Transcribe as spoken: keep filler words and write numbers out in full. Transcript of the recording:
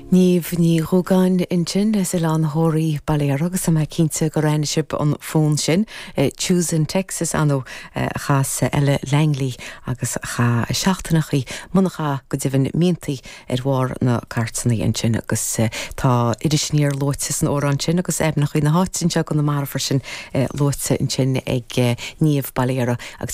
Niamh Ní Dhúgáin ansin as Oileán Thoraí Baile agus mé cinnte gur aithin sibh an fonn sin Choosing Texas ann a chas Ella Langley agus cha seachtainnachaí munacha go deimhin míontaí ar bharr na cairteanna ansin agus tá Inis Oírr luaite san amhrán sin agus aibhneacha na háite anseo go na marfar sin luaite ansin ag Niamh Bailera agus